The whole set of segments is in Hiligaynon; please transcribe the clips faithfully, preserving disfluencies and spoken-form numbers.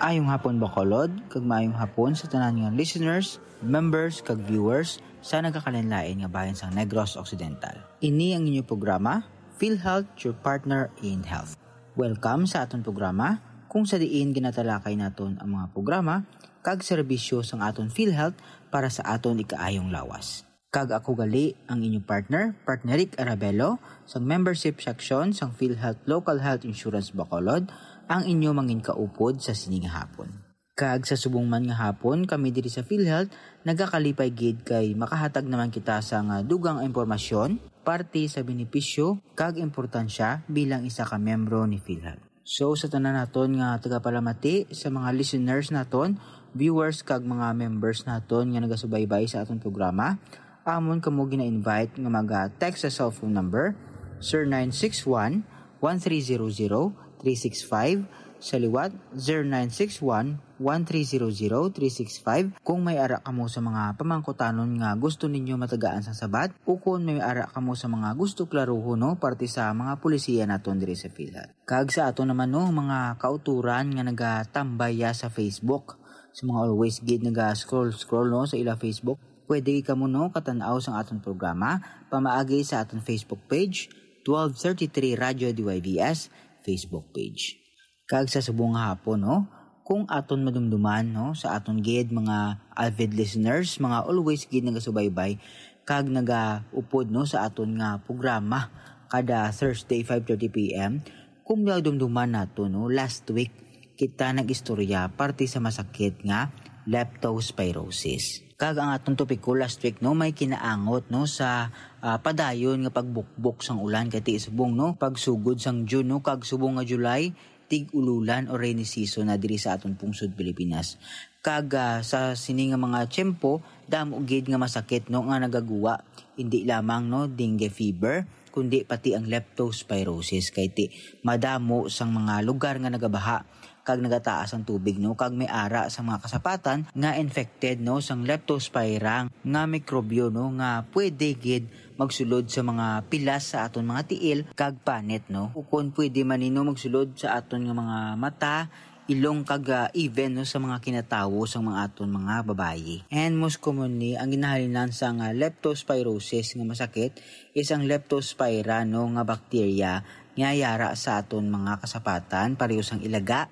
Ayong hapon, Bacolod, kag maayong hapon sa tanan nga listeners, members, kag viewers sa nagakalain-lain nga bahin sang Negros Occidental. Ini ang inyo programa, PhilHealth, your partner in health. Welcome sa aton programa, kung sa diin ginatalakay naton ang mga programa kag serbisyo sang aton PhilHealth para sa aton ikaayong lawas. Kag ako gali ang inyo partner, Partner Rick Arabelo, sang membership section sang PhilHealth Local Health Insurance Bacolod, ang inyo manginkaupod sa sini nga hapon. Kag sa subong man nga hapon, kami diri sa PhilHealth nagakalipay gid kay makahatag naman kita sa nga dugang impormasyon, parte sa benepisyo kag importansya bilang isa ka miyembro ni PhilHealth. So, sa tanan naton nga tagapalamati, sa mga listeners naton, viewers kag mga members naton nga nagasubaybay sa aton programa, amon kamo gina-invite nga mag-text sa cellphone number zero nine six one, one three zero zero, three six five, sa liwat, zero nine six one, one three zero zero, three six five, kung may ara kamo sa mga pamangkutanon nga gusto ninyo matagaan sang sabat, o kung may ara kamo sa mga gusto klaruhon, no, parte sa mga polisiya naton diri sa PhilHealth. Kag sa ato naman, no, mga kauturan nga nagatambay ya sa Facebook, sa mga always gid naga-scroll-scroll, no, sa ila Facebook, pwede kamo, no, katan-aw sang aton programa pamaagi sa aton Facebook page, twelve thirty-three Radyo D Y V S Facebook page. Kag sa subong nga hapon, no, kung aton madumduman, no, sa aton gid mga avid listeners, mga always gid nagasubaybay kag nagaupod, no, sa aton nga programa kada Thursday, five thirty P M, kung madumduman nato, no, last week kita nag-istorya parte sa masakit nga leptospirosis. Kag ang aton topiko last week, no, may kinaangot, no, sa, ah, padayon nga pagbukbok sang ulan kay ti subong, no, pagsugod sang June, no, kag subong nga July, tig-ululan o rainy season na diri sa aton pungsod Pilipinas. Kag, ah, sa sini nga mga tiyempo, damo gid nga masakit, no, nga nagaguwa, hindi lamang, no, dengue fever, kundi pati ang leptospirosis kay ti madamo sang mga lugar nga nagabaha kag nagataas ang tubig, no, kag may ara sa mga kasapatan nga infected, no, sang leptospira nga mikrobyo, no, nga pwede gid magsulod sa mga pilas sa aton mga tiil kag panit, no, ukon pwede man ni, no, magsulod sa aton nga mga mata, ilong, kag, ah, even, no, sa mga kinatawo sang mga aton mga babayi. And most commonly, ang ginahalinan sang, ah, leptospirosis nga masakit is ang leptospira, no, nga bakterya nga yara sa aton mga kasapatan, pareho sang ilaga,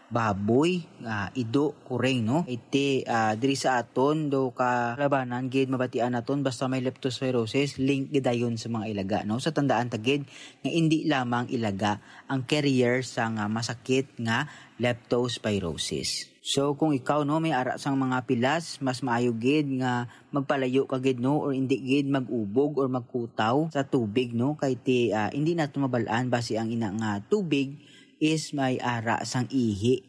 baboy, ah, ido, kuring, no? Iti, ah, diri sa aton daw kalabanan gid mabatian naton basta may leptospirosis, link gidayon sa mga ilaga, no? Sa tandaan ta gid nga indi lamang ilaga ang carrier sang, ah, masakit nga leptospirosis. So, kung ikaw, no, may ara sang mga pilas, mas maayo gid nga magpalayo ka gid, no, or indi gid mag-ubog or magkutaw sa tubig, no, kay ti, ah, indi nato mabal-an basi ang ina nga tubig is may ara sang ihi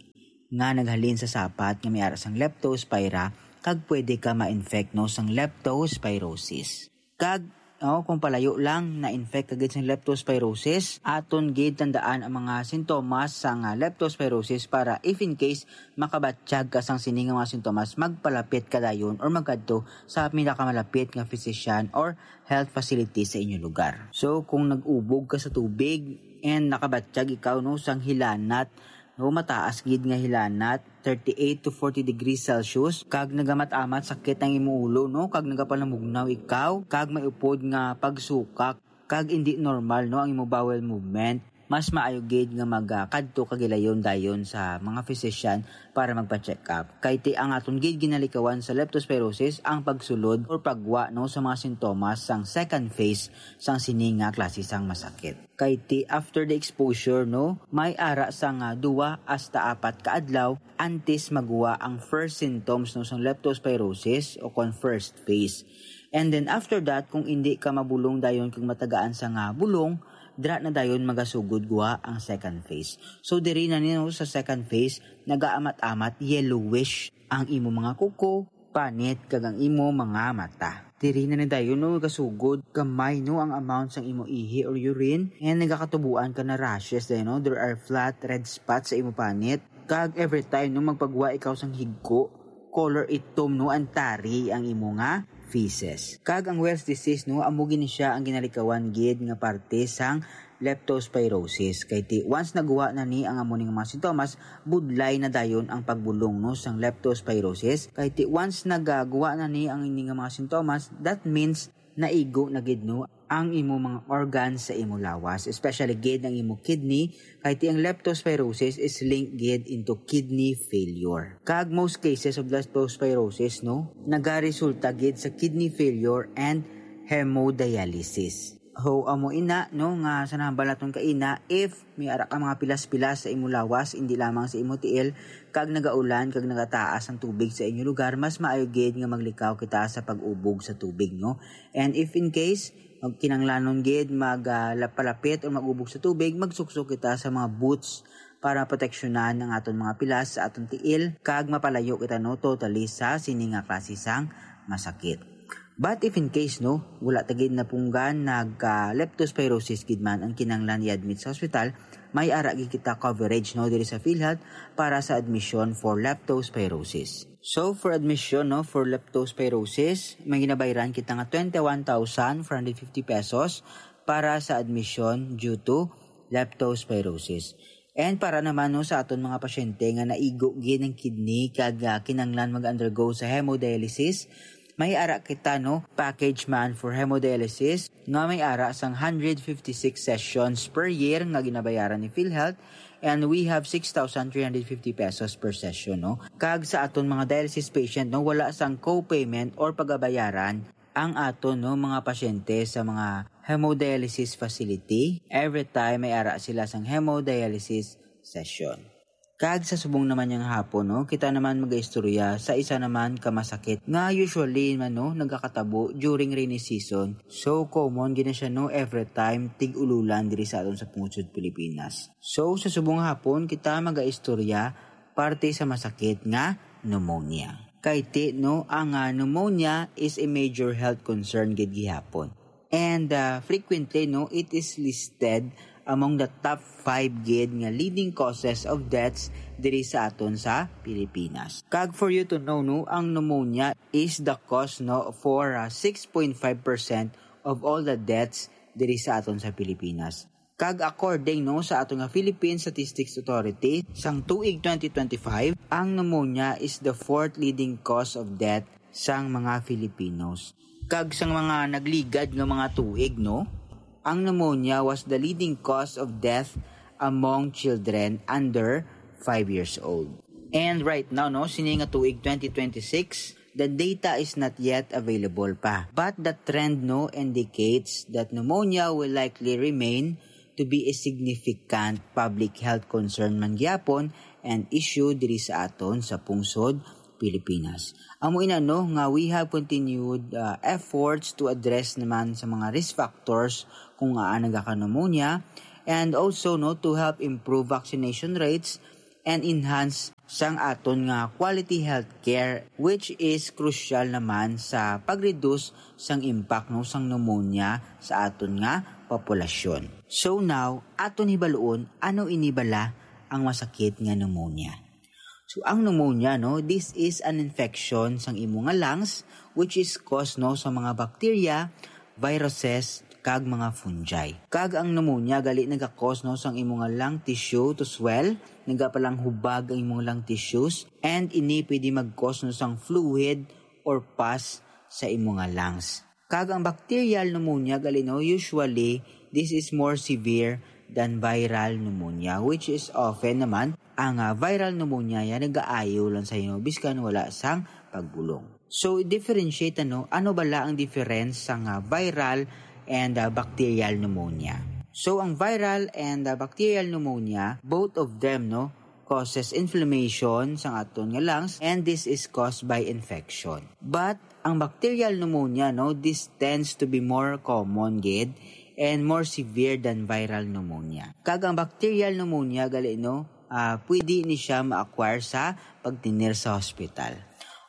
nga naghalin sa sapat nga may ara sang leptospira, kag pwede ka ma-infect, no, sang leptospirosis. Kag, oh, kung palayo lang na-infect ka gid sang leptospirosis, aton gid tandaan ang mga sintomas sang, ah, leptospirosis para if in case makabatyag ka sang sini nga mga sintomas, magpalapit ka dayon or magkadto sa pinakamalapit nga physician or health facility sa inyo lugar. So, kung nag-ubog ka sa tubig and nakabatyag ikaw, no, sang hilanat, no, mataas gid nga hilanat, thirty-eight to forty degrees Celsius, kag nagamat-amat sakit ang imo ulo, no, kag nagapanamugnaw ikaw, kag may upod nga pagsukak, kag indi normal, no, ang imo bowel movement, mas maayo gid nga magkadto ka gilayon dayon sa mga physician para magpa-check up. Kay ti ang aton gid ginalikawan sa leptospirosis ang pagsulod or pagwa, no, sa mga sintomas sang second phase sang sini nga klase sang masakit. Kay ti after the exposure, no, may ara sang, ah, duwa hasta apat ka adlaw antes magwa ang first symptoms, no, sang leptospirosis o kon first phase. And then after that, kung indi ka mabulong dayon kag matagaan sang, ah, bulong, dira na dayon magasugod guwa ang second phase. So diri na, no, sa second phase, nagaamat-amat yellowish ang imo mga kuko, panit, kag ang imo mga mata. Diri na ni dayon, no, gasugod gamay, no, ang amount sang imo ihi or urine, and nagakatubuan ka na rashes, eh, no? There are flat red spots sa imo panit. Kag every time, no, magpagwa ikaw sang higko, color itom, no, ang tari ang imo nga feces. Kag ang Weil's disease, no, amo gini siya ang ginalikawan gid nga parte sang leptospirosis. Kay ti once naguha na ni ang amo ning mga sintomas, budlay na dayon ang pagbulong, no, sang leptospirosis. Kay ti once nagaguha na ni ang ini nga mga sintomas, that means naigo na gid, no, ang imo mga organs sa imo lawas, especially gid ang imo kidney, kay ti ang leptospirosis is linked gid into kidney failure. Kag most cases of leptospirosis, no, nagaresulta gid sa kidney failure and hemodialysis. So, amo ina, no, nga sa nahambal naton kaina, if may ara ka mga pilas-pilas sa imo lawas, hindi lamang sa imo tiil, kag nagaulan, kag nagataas ang tubig sa inyo lugar, mas maayo gid nga maglikaw kita sa pag-ubog sa tubig, no? And if in case, magkinanglanon gid mag, ah, lap-, palapit o mag-ubog sa tubig, magsuksok kita sa mga boots para proteksyonan ang aton mga pilas sa aton tiil, kag mapalayo kita, no, totally sa sini nga klase sang masakit. But if in case, no, wala ta gid napunggan, nagka leptospirosis gid man ang kinahanglan i-admit sa hospital, may ara gid kita coverage, no, diri sa PhilHealth para sa admission for leptospirosis. So, for admission, no, for leptospirosis, may ginabayaran kita nga twenty-one thousand four hundred fifty pesos para sa admission due to leptospirosis. And para naman, no, sa aton mga pasyente nga naigo gid ang kidney kag, ah, kinanglan mag-undergo sa hemodialysis, may ara kita, no, package man for hemodialysis nga may ara sang hundred fifty-six sessions per year nga ginabayaran ni PhilHealth, and we have six thousand three hundred fifty pesos per session, no. Kag sa aton mga dialysis patient, no, wala sang co-payment or pagabayaran ang aton, no, mga pasyente sa mga hemodialysis facility every time may ara sila sang hemodialysis session. Kag sa subong naman niyang hapon, no, kita naman magaistorya sa isa naman ka masakit nga usually man, no, nagakatabo during rainy season. So common gid na siya, no, every time tig-ululan diri sa aton sa pungsod Pilipinas. So sa subong hapon kita magaistorya parte sa masakit nga pneumonia. Kay ti, no, ang, ah, pneumonia is a major health concern gid gihapon. And, ah, frequently, no, it is listed among the top five gid nga leading causes of deaths diri sa aton sa Pilipinas. Kag for you to know, no, ang pneumonia is the cause, no, for, ah, six point five percent of all the deaths diri sa aton sa Pilipinas. Kag according, no, sa ato nga Philippine Statistics Authority, sang tuig twenty twenty-five, ang pneumonia is the fourth leading cause of death sang mga Filipinos. Kag sang mga nagligad nga mga tuig, no, ang pneumonia was the leading cause of death among children under five years old. And right now, no, sini nga tuig twenty twenty-six, the data is not yet available pa. But the trend, no, indicates that pneumonia will likely remain to be a significant public health concern man gyapon and issue diri sa aton sa pungsod Pilipinas. Amo ina, no, nga we have continued, uh, efforts to address naman sa mga risk factors kung ngaa nagaka-pneumonia, and also, no, to help improve vaccination rates and enhance sang aton nga quality healthcare, which is crucial naman sa pag-reduce sang impact, no, sang pneumonia sa aton nga populasyon. So now, aton hibaluon ano ini bala ang masakit nga pneumonia. So ang pneumonia, no, this is an infection sang imo nga lungs, which is caused, no, sa mga bacteria, viruses, kag mga fungi. Kag ang pneumonia gali nagakos, no, sang imo nga lung tissue to swell, nagapalanghubag ang imo nga lung tissues, and ini pwede magkos, no, sang fluid or pus sa imo nga lungs. Kag ang bacterial pneumonia gali, no, usually this is more severe than viral pneumonia, which is often naman ang, ah, viral pneumonia ya nagaayo lang sa imo biskan wala sang pagbulong. So, i-differentiate, ano, ano bala ang difference sang, ah, viral and, ah, bacterial pneumonia? So, ang viral and, ah, bacterial pneumonia, both of them, no, causes inflammation sang aton nga lungs, and this is caused by infection. But ang bacterial pneumonia, no, this tends to be more common gid and more severe than viral pneumonia. Kag ang bacterial pneumonia gali, no, ah, pwede ni siya ma-acquire sa pagtinir sa hospital.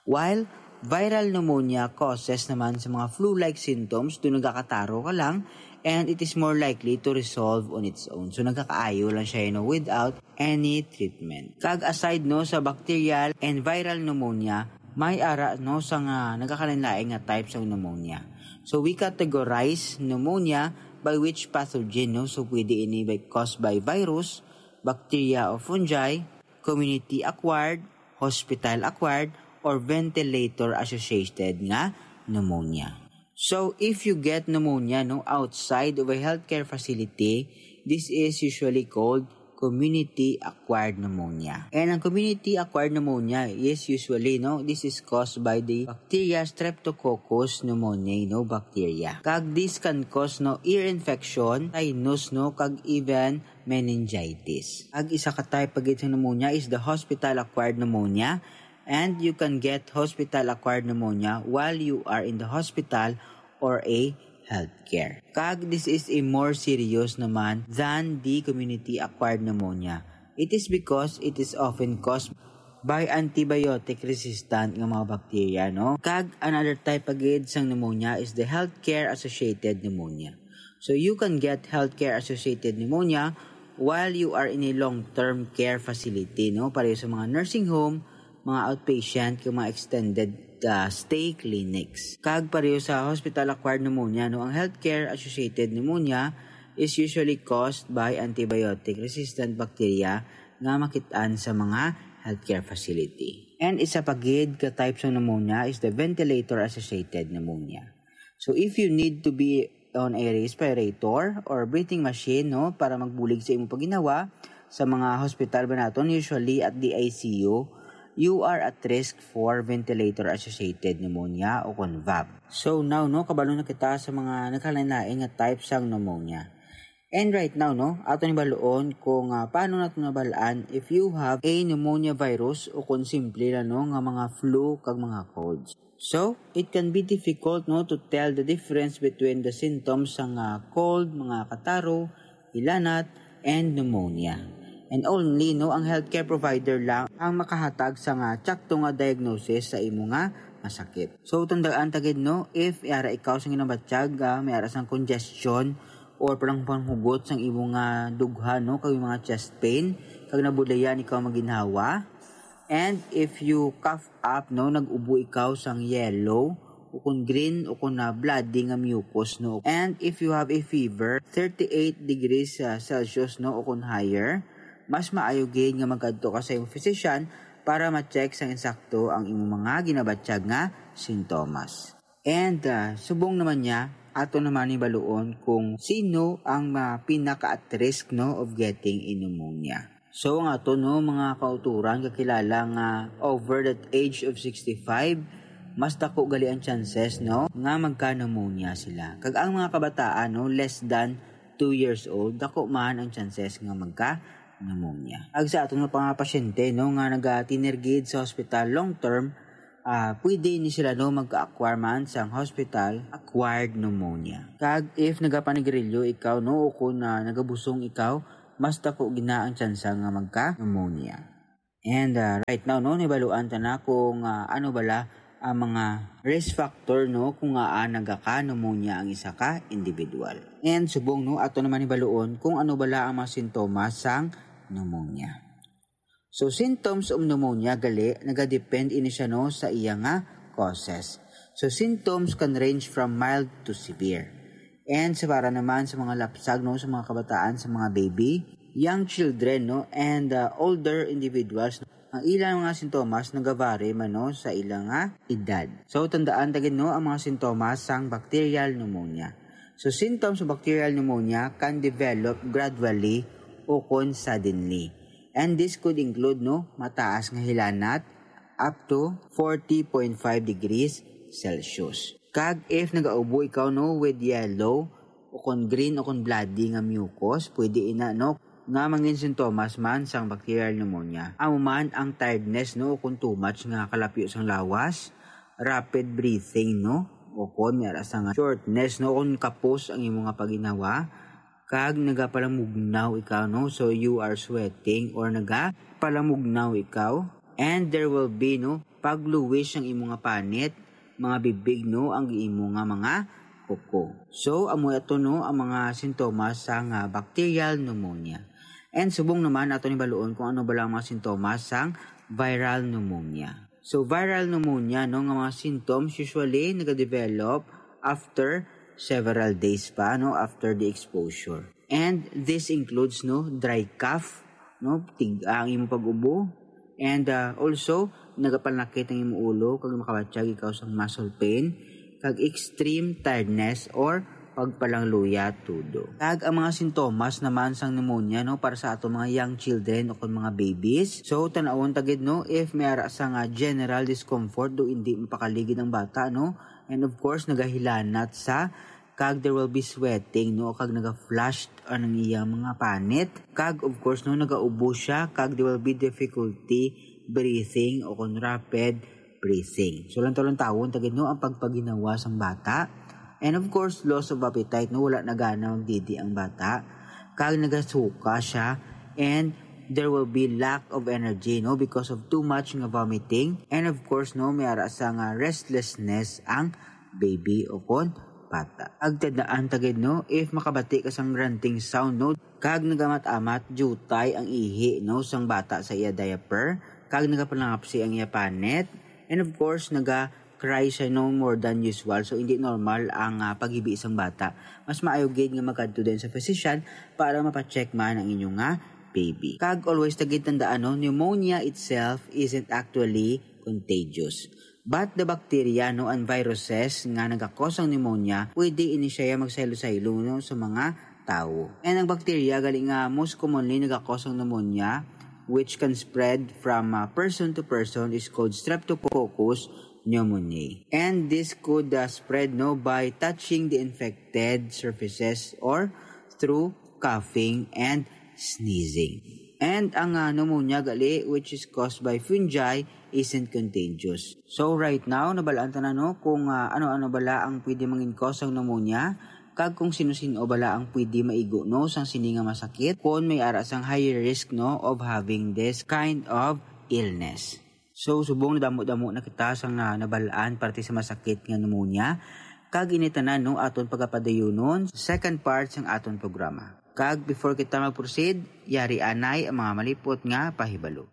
While viral pneumonia causes naman sa mga flu-like symptoms, do nagakataro ka lang, and it is more likely to resolve on its own. So, nagakaayo lang siya, you know, without any treatment. Kag aside, no, sa bacterial and viral pneumonia, may ara, no, sa nga nagakalain-lain nga types of pneumonia. So, we categorize pneumonia by which pathogen, no? So, pwede ini by, caused by virus, bacteria o fungi, community acquired, hospital acquired, or ventilator associated nga pneumonia. So, if you get pneumonia, no, outside of a healthcare facility, this is usually called community acquired pneumonia. And ang community acquired pneumonia is usually, no, this is caused by the bacteria Streptococcus pneumoniae, no, bacteria. Kag this can cause, no, ear infection, sinus, no, kag even meningitis. Ang isa ka type pa gid sang pneumonia is the hospital acquired pneumonia, and you can get hospital acquired pneumonia while you are in the hospital or a healthcare. Kag this is a more serious naman than the community acquired pneumonia. It is because it is often caused by antibiotic resistant nga mga bacteria, no? Kag another type pa gid sang pneumonia is the healthcare associated pneumonia. So, you can get healthcare associated pneumonia while you are in a long-term care facility, no? Pareho sa mga nursing home, mga outpatient, kag mga extended, uh, stay clinics. Kag pareho sa hospital-acquired pneumonia, no? Ang healthcare associated pneumonia is usually caused by antibiotic resistant bacteria nga makit-an sa mga healthcare facility. And isa pa gid ka type sa pneumonia is the ventilator-associated pneumonia. So, if you need to be on a respirator or breathing machine, no, para magbulig sa imong pagginawa, sa mga hospital ba naton, usually at the I C U, you are at risk for ventilator-associated pneumonia o kon vap. So now, no, kabalo na kita sa mga nagkalain-lain nga type sang pneumonia. And right now, no, ato ni baluon kung, ah, paano nato nabal-an if you have a pneumonia virus o kung simple lang, no, nga mga flu kag mga colds. So, it can be difficult, no, to tell the difference between the symptoms sang, ah, cold, mga kataro, hilanat, and pneumonia. And only, no, ang healthcare provider lang ang makahatag sa nga tsakto nga diagnosis sa imo nga masakit. So, tandaan ta gid, no, if yara ikaw sang ginabatyag, ah, may ara sang congestion or parang panghugot sang imo nga dughan, no, kag mga chest pain, kag nabudlayan ikaw maginhawa, and if you cough up, no, nag-ubo ikaw sang yellow, o kon green, o kon na bloody nga mucus, no. And if you have a fever, thirty-eight degrees, ah, Celsius, no, o kon higher, mas maayo gid nga magkadto ka sa imong physician para ma-check sang insakto ang imong mga ginabatyag nga sintomas. And, ah, subong naman niya, ato naman ni baluon kung sino ang, ah, pinaka at risk, no, of getting a pneumonia. So, ang ato, no, mga kauturan, kakilala nga over the age of sixty-five, mas dako gali ang chances, no, nga magka-pneumonia sila. Kag ang mga kabataan, no, less than two years old, dako man ang chances nga magka-pneumonia. Kag sa aton nga mga pasyente, no, nga nagatinergid sa hospital long term, ah, pwede ni sila, no, magka-acquire man sang hospital acquired pneumonia. Kag if nagapanigarilyo ikaw, no, o kung, ah, nagabusong ikaw, mas dako gina ang tsansa nga magka-pneumonia. And, ah, right now, no, nibaluan ta na kung, ah, ano bala ang mga risk factor, no, kung ngaa nagaka-pneumonia ang isa ka individual. And subong, no, ato naman nibaluon kung ano bala ang mga sintomas sang pneumonia. So, symptoms of pneumonia gali nagadepend ini siya, no, sa iya nga causes. So, symptoms can range from mild to severe. And sa para naman sa mga lapsag, no, sa mga kabataan, sa mga baby, young children, no, and, uh, older individuals, ang ilang mga sintomas nagavary man, no, sa ilang nga edad. So, tandaan ta gid, no, ang mga sintomas sang bacterial pneumonia. So, symptoms of bacterial pneumonia can develop gradually o kon suddenly. And this could include, no, mataas nga hilanat up to forty point five degrees Celsius. Kag if nagaubo ikaw, no, with yellow, o kon green, o kon bloody nga mucus, pwede ina, no, nga mangin sintomas man sang bacterial pneumonia. Amo man ang tiredness, no, o kon too much nga kalapyo sang lawas, rapid breathing, no, o kon may ara sa nga shortness, no, kon kapos ang imo nga paginhawa, kag nagapalamugnaw ikaw, no? So, you are sweating or nagapalamugnaw ikaw. And there will be, no, pagluwis ang imo nga panit, mga bibig, no, ang imo nga mga kuko. So, amo ato, no, ang mga sintomas sa nga bacterial pneumonia. And subong naman, ato ni baluon kung ano bala ang mga sintomas sang viral pneumonia. So, viral pneumonia, no, nga mga symptoms usually nagadevelop after several days pa, no, after the exposure. And this includes, no, dry cough, no, tig-a ang imong pag-ubo, and, ah, also nagapanakit ang imong ulo kag makabatyag ikaw sang muscle pain, kag extreme tiredness or pagpalangluya tudo. Kag ang mga sintomas naman sang pneumonia, no, para sa ato mga young children o kon mga babies. So, tan-awon ta gid, no, if may ara sa nga general discomfort, do hindi mapakaligid ang bata, no, and of course nagahilanat sa, kag there will be sweating, no, kag naga-flushed ang iyang mga panit, kag of course, no, nagaubo siya, kag there will be difficulty breathing o kon rapid breathing. So, lantawon-lantawon ta gid, no, ang pagpaginawa sang bata. And of course, loss of appetite, no, wala na gana magdidi ang bata. Kag nagasuka siya, and there will be lack of energy, no, because of too much nga vomiting. And of course, no, may ara sa nga restlessness ang baby o kon bata. Kag tandaan ta gid, no, if makabati ka sang grunting sound, no, kag nagamat-amat, jutay ang ihi, no, sang bata sa iya diaper, kag nagapalangapsi ang iya panit, and of course, naga-cry siya, no, more than usual. So, hindi normal ang, ah, paghibi sang bata. Mas maayo gid nga magkadto din sa physician para mapacheck man ang inyo nga baby. Kag always ta gid tandaan, no, pneumonia itself isn't actually contagious. But the bacteria, no, and viruses nga nagakos ang pneumonia, pwede ini siya magsaylo-saylo, no, sa mga tawo. And ang bacteria gali nga most commonly nagakos ang pneumonia, which can spread from, uh, person to person, is called Streptococcus pneumoniae. And this could, uh, spread, no, by touching the infected surfaces or through coughing and sneezing. And ang, ah, pneumonia gali, which is caused by fungi, isn't contagious. So right now, nabalaan ta na, no, kung, ah, ano-ano bala ang pwede mangin cause sang pneumonia, kag kung sino-sino bala ang pwede maigo, no, sang sini nga masakit, kung may ara sang higher risk, no, of having this kind of illness. So, subong nadamo-damo na kita sang, ah, nabalaan parte sa masakit nga pneumonia, kag ini tanan, no, aton pagapadayunon, second part sang aton programa. Kag before kita mag-proceed, yari anay ang mga malipot nga pahibalo.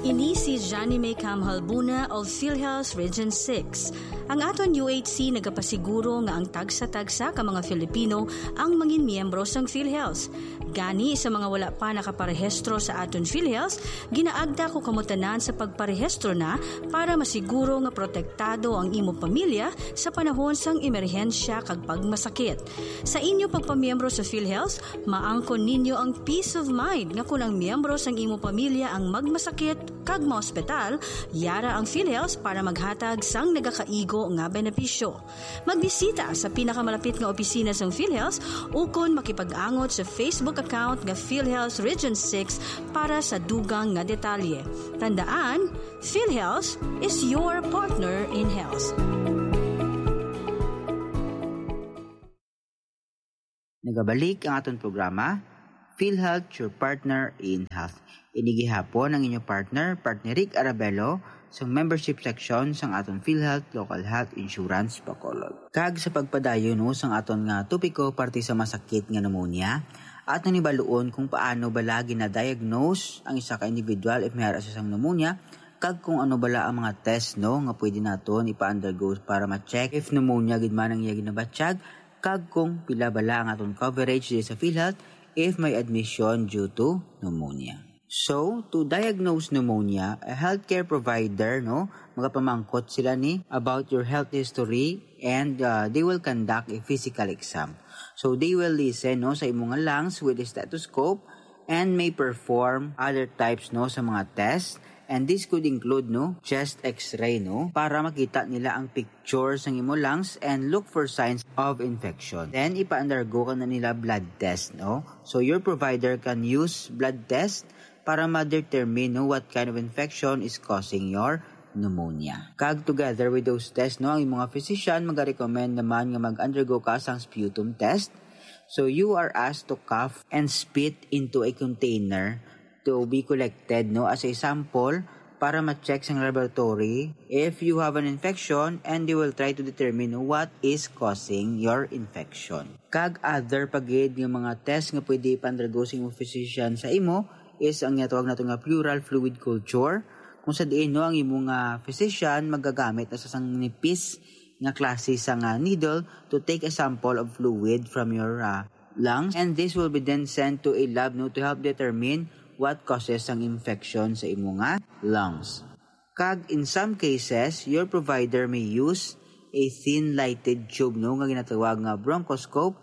Ini si Johnny May Cam Halbuna of PhilHealth Region six. Ang aton U H C nagapasiguro nga ang tagsa-tagsa ka mga Filipino ang mangin miyembro sang PhilHealth. Gani, sa mga wala pa nakaparehistro sa aton PhilHealth, ginaagda ko kamo tanan sa pagparehistro na para masiguro nga protektado ang imo pamilya sa panahon sang emerhensya kag pagmasakit. Sa inyo pagpamiyembro sa PhilHealth, maangkon ninyo ang peace of mind nga kon ang miyembro sang imo pamilya ang magmasakit kag maospital, yara ang PhilHealth para maghatag sang nagakaigo nga benepisyo. Magbisita sa pinakamalapit nga opisina sang PhilHealth ukon makipag-angot sa Facebook account nga PhilHealth Region six para sa dugang nga detalye. Tandaan, PhilHealth is your partner in health. Nagabalik ang aton programa, PhilHealth, your partner in health. Ini gihapon ang inyo partner, Partner Rick Arabelo, sa membership section sang aton PhilHealth Local Health Insurance Bacolod. Kag sa pagpadayon, no, sang aton nga topiko parte sa masakit nga pneumonia, aton hibaluon kung paano bala gina-diagnose ang isa ka individual if may ara siya sang pneumonia, kag kung ano bala ang mga test, no, nga pwede naton ipa-undergo para ma-check if pneumonia gid man ang iya ginabatyag, kag kung pila bala ang aton coverage diri sa PhilHealth if may admission due to pneumonia. So, to diagnose pneumonia, a healthcare provider, no, magapamangkot sila ni about your health history, and, uh, they will conduct a physical exam. So, they will listen, no, sa imo nga lungs with a stethoscope and may perform other types, no, sa mga test. And this could include, no, chest x-ray, no, para makita nila ang picture sang imo lungs and look for signs of infection. Then, ipa-undergo ka na nila blood test, no? So, your provider can use blood test para ma-determine, no, what kind of infection is causing your pneumonia. Kag together with those tests, no, ang mga physician magarecommend naman nga mag-undergo ka sang sputum test. So, you are asked to cough and spit into a container to be collected, no, as a sample para ma-check sang laboratory if you have an infection, and they will try to determine what is causing your infection. Kag other pa gid nga mga test nga pwede ipa-undergo sa imong physician sa imo is ang ginatawag nato nga pleural fluid culture, Kung sa diin, no, ang imo nga physician magagamit na sa sang nipis nga klase sa nga needle to take a sample of fluid from your ah, lungs, and this will be then sent to a lab, no, to help determine what causes ang infection sa imo nga lungs. Kag in some cases, your provider may use a thin lighted tube, no, nga ginatawag nga bronchoscope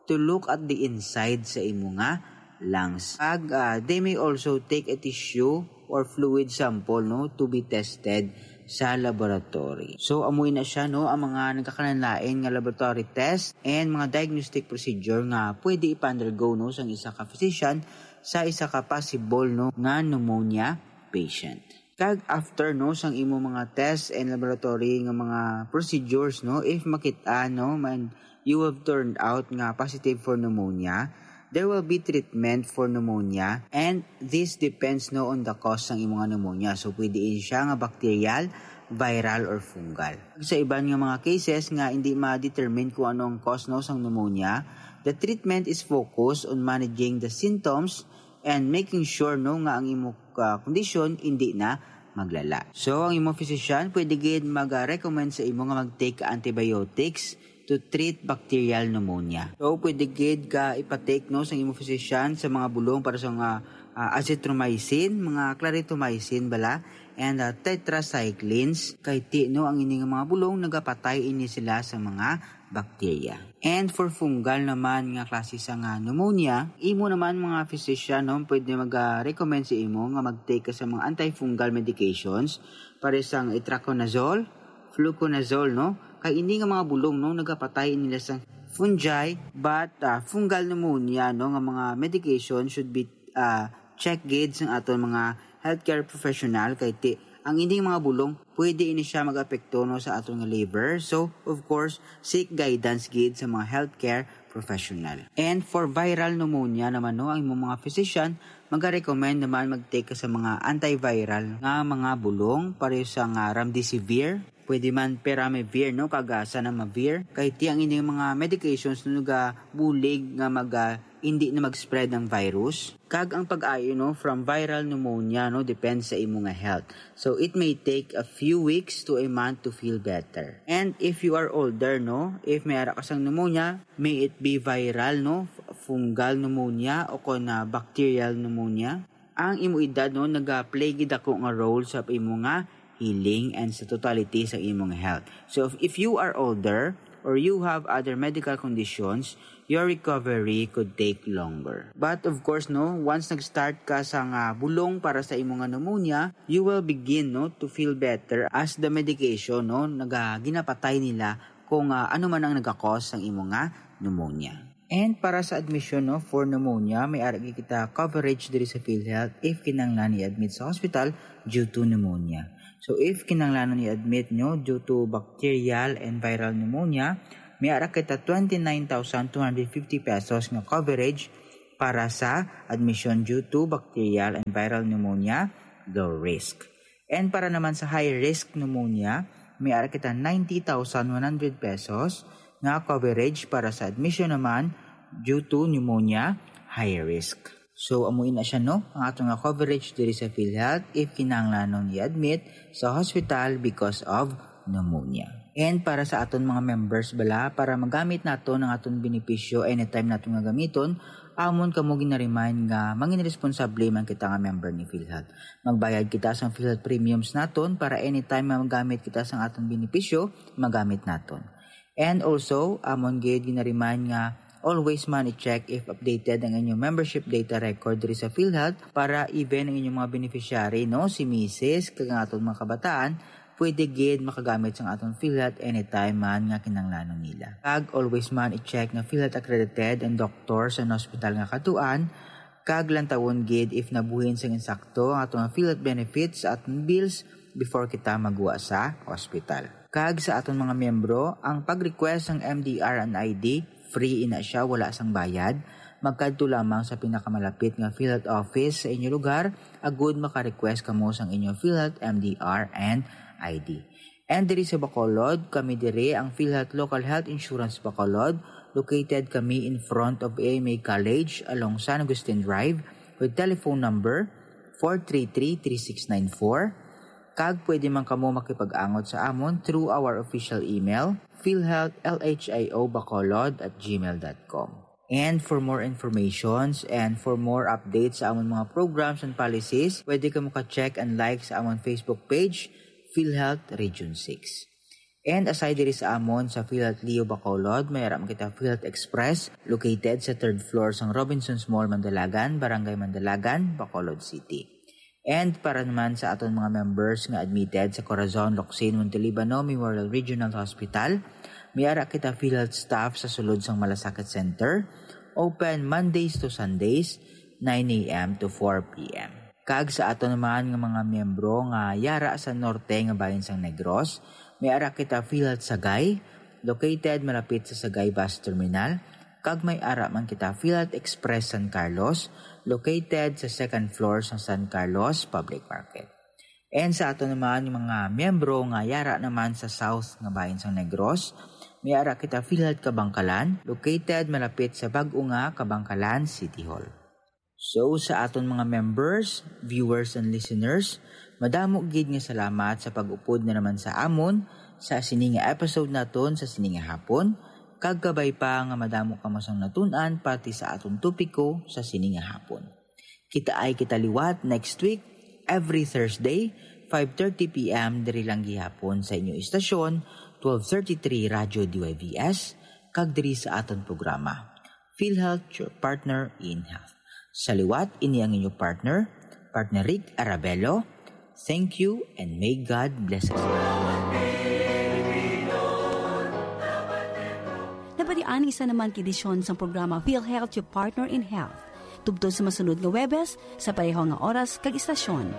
to look at the inside sa imo nga lungs. Kag ah, they may also take a tissue or fluid sample, no, to be tested sa laboratory. So amo na siya, no, ang mga nagkakalain-lain nga laboratory test and mga diagnostic procedure nga pwede ipa-undergo, no, sang isa ka physician sa isa ka possible, no, nga pneumonia patient. Kag after, no, sang imo mga test and laboratory nga mga procedures, no, if makita, no, man you have turned out nga positive for pneumonia, there will be treatment for pneumonia, and this depends, no, on the cause sang imo nga pneumonia. So pwede ini siya nga bacterial, viral, or fungal. Sa iban nga mga cases nga hindi ma-determine kung ano ang cause, no, sang pneumonia, the treatment is focused on managing the symptoms and making sure, no, nga ang imo ah, kondisyon hindi na maglala. So ang imo physician pwede gid mag-recommend sa imo nga mag-take antibiotics to treat bacterial pneumonia. So pwede gid ka ipa-take, no, sa imo physician sa mga bulong para sa mga ah, azithromycin, mga clarithromycin bala, and ah, tetracyclines, kay ti, no, ang ini nga mga bulong nagapatay ini sila sa mga bacteria. And for fungal naman nga klase sa nga pneumonia, imo naman mga physician, no, pwede mag-recommend sa imo nga mag-take ka sa mga antifungal medications, pare sang itraconazole, fluconazole, no? Kay ini nga mga bulong, no, nagapatay nila sa fungi, but ah, fungal pneumonia, no, nga mga medication should be ah, check gid sang aton mga healthcare professional, kay ti ang ining mga bulong pwede ini siya mag-apekto, no, sa aton nga liver. So of course, seek guidance gid sa mga healthcare professional. And for viral pneumonia naman, no, ang imong mga physician maga-recommend naman mag-take ka sa mga antiviral nga mga bulong, pareho sa nga remdesivir, pwede man peramivir, no, kag ah, zanamivir, kay ti ang ining mga medications, no, nagabulig nga mag ah, hindi na mag-spread ang virus. Kag ang pag-ayo, no, from viral pneumonia, no, depends sa imo nga health. So it may take a few weeks to a month to feel better. And if you are older, no, if may ara ka sang pneumonia, may it be viral, no, f- fungal pneumonia o kon na bacterial pneumonia, ang imo edad, no, nagaplay gid ako nga role sa imo nga healing and sa totality sa imong health. So if, if you are older or you have other medical conditions, your recovery could take longer. But of course, no, once nag-start ka sa nga bulong para sa imo nga pneumonia, you will begin, no, to feel better as the medication, no, naga ginapatay nila kung ah, ano man ang nagakos sang imo nga pneumonia. And para sa admission, no, for pneumonia, may ara gid kita coverage diri sa PhilHealth if kinahanglan i-admit sa hospital due to pneumonia. So if kinahanglanon i-admit nyo due to bacterial and viral pneumonia, may ara kita twenty-nine thousand two hundred fifty pesos nga coverage para sa admission due to bacterial and viral pneumonia, low risk. And para naman sa high risk pneumonia, may ara kita ninety thousand one hundred pesos nga coverage para sa admission naman due to pneumonia, high risk. So amo ina siya, no, ang ato nga coverage diri sa PhilHealth if kinahanglanon i-admit sa hospital because of pneumonia. And para sa aton mga members bala, para magamit naton ang aton benepisyo anytime naton nga gamiton, amon kamo ginaremind nga mangin responsable man kita nga member ni PhilHealth. Magbayad kita sang PhilHealth premiums naton para anytime nga magamit kita sang aton benepisyo, magamit naton. And also, amon gid ginaremind nga always man i-check if updated ang inyong membership data record diri sa PhilHealth para even ang inyong mga beneficiary, no, si misis, kag ang aton mga kabataan, pwede gid makagamit sang aton PhilHealth anytime man nga kinahanglanon nila. Kag always man i-check nga PhilHealth accredited ang doktor sa hospital nga katuan, kag lantawon gid if nabuhin sang insakto ang aton nga PhilHealth benefits sa aton bills before kita magwa sa hospital. Kag sa aton mga miyembro, ang pag-request sang M D R and I D, free ina siya, wala sang bayad. Magkadto lamang sa pinakamalapit nga PhilHealth office sa inyo lugar, agud maka-request kamo sang inyo PhilHealth M D R and I D. And diri sa Bacolod, kami diri ang PhilHealth Local Health Insurance Bacolod. Located kami in front of A M A College along San Agustin Drive with telephone number four three three, three six nine four, Kag pwede man kamo makipag-angot sa amon through our official email, philhealth L H I O bacolod at gmail dot com. And for more informations and for more updates sa amon mga programs and policies, pwede kamo ka-check and like sa amon Facebook page, PhilHealth Region six. And aside diri sa amon sa PhilHealth Leo Bacolod, may ara man kita PhilHealth Express, located sa third floor sang Robinsons Mall, Mandalagan, Barangay Mandalagan, Bacolod City. And para naman sa aton mga members nga admitted sa Corazon Locsin Montelibano Memorial Regional Hospital, may ara kita PhilHealth staff sa sulod sang Malasakit Center, open Mondays to Sundays, nine a m to four p m. Kag sa aton naman nga mga miyembro nga yara sa norte nga bahin sang Negros, may ara kita PhilHealth Sagay, located malapit sa Sagay Bus Terminal, kag may ara man kita PhilHealth Express San Carlos, located sa second floor sa San Carlos Public Market. And sa aton naman nga mga miyembro nga yara naman sa South nga bahin sang Negros, may ara kita PhilHealth Kabangkalan, located malapit sa bag-o nga Kabangkalan City Hall. So, sa aton mga members, viewers, and listeners, madamo gid nga salamat sa pag-upod na naman sa amon sa sini nga episode naton sa sini nga hapon, kag kabay pa nga madamo kamo sang natun-an pati sa aton topiko sa sini nga hapon. Kitaay kita liwat next week, every Thursday, five thirty p m, diri lang gihapon sa inyo istasyon, twelve thirty-three Radyo D Y V S, kag diri sa aton programa, PhilHealth, your partner in health. Sa liwat, ini ang inyo partner, partner Rick Arabelo. Thank you and may God bless us all. Nabatian isa naman ka edisyon sang programa PhilHealth, your partner in health. Tubtob sa masunod nga Huwebes, sa pareho nga oras kag istasyon.